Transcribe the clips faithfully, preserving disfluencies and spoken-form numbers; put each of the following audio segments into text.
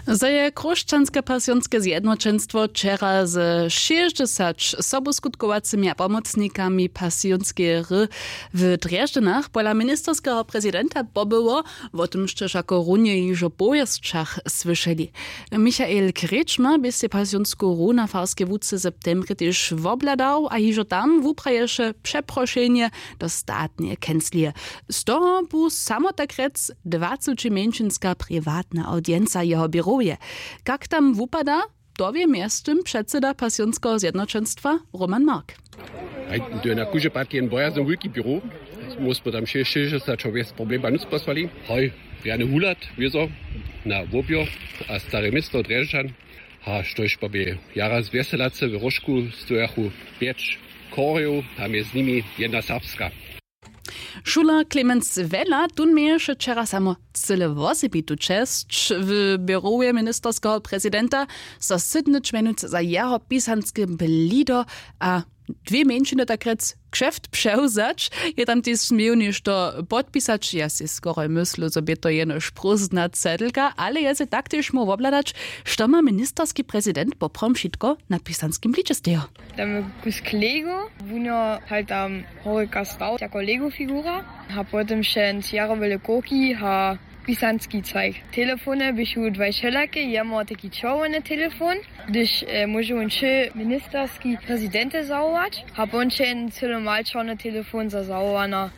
Zo je chróšćanske pasionske zjednoćenstwo wčera ze šěsćdźesać sobuskutkowacymi a pomocnikami pasionskeje hry w drježdźanach pola ministerskeho prezidenta pobyło, wo tym sće wšako runje hižo w powěsćach słyšeli. Michael Krečmar bě sej pasionsku hru na farskej łuce w septembrje tež wobhladał a hižo tam wupraješe přeprošenje do statneje kenclije. Z toho bu samo tak rjec dwacećimjeńšinska priwatna audienca jeho běrowje. Kak tam wupada, to wě mjeztym předsyda pasionskeho zjednoćenstwa Roman Mark. Haj, to je na kuže park jen bojazny wulki běrow. Móhł smy tam šěsćdźesać wjez problema nutř posłali. Haj, rjany wuhlad wězo na wobjo a stare město drježdźan. A štož pa bě jara z wjeselace w róžku stojachu pjeć chorjow a mjez nimi jedna serbska. Šuler Clemens Wella tón měješe wčera samo cyle wosebitu česć w běrowje ministerskeho prezidenta, zo sydnyć mjenuc za jeho pisanske blido a dwě mjeńšiny tak rjec kšeft přewzać. Je tam tež směł něšto podpisać, ja sej skoraj myslu zo bě to jenož prózdna cedlka, ale je sej tak tež móhł wobhladać, što ma ministerski prezident poprawom wšitko na pisanskim blidźe stejo. Tam je kus klego, wuno hal tam horika stał jako lego figura. A potom še jarowe lekoki a pisanski cajk. Telefony běchu dwaj wšelake, jemu taki čerwjeny telefon, hdyž e, móže wón wšě ministerski prezidente zawołać, a pon će jen cyle mal čerwjeny telefon za zawołana.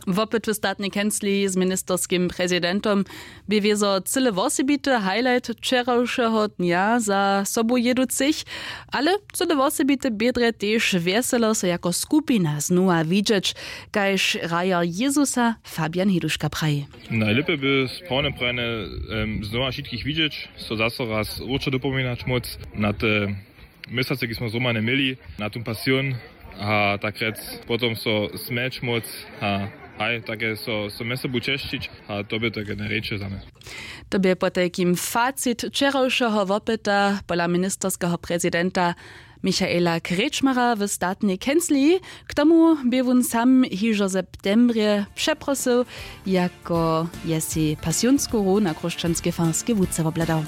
Wopyt w statnej kencliji z ministerskim prezidentom bě wězo cyle wosebity highlight wčerawšeho dnja za sobu jěducych, ale cyle wosebite bě drje tež wjeselo so jako skupina znowa widźeć, kaž hrajer jezusa Fabian Hiduška praji. Najlěpje by sprawne prajene znowa wšitkich widźeć, so zaso raz wróćo dopominać móc na te měsace kiž smo zhromadnje měli na tón pasion, a tak rjec potom so smjeć móc a haj take so so mjez sobu češćić. A to by to genereće za mje. To bě potajkim facit wčerawšeho wopyta pola ministerskeho prezidenta Michaela Krečmara w statnej kencliji. K tomu bě wón sam hižo w septembrje přeprosył, jako je sej pasionsku hru na chróšćanskej farskej łuce wobhladał.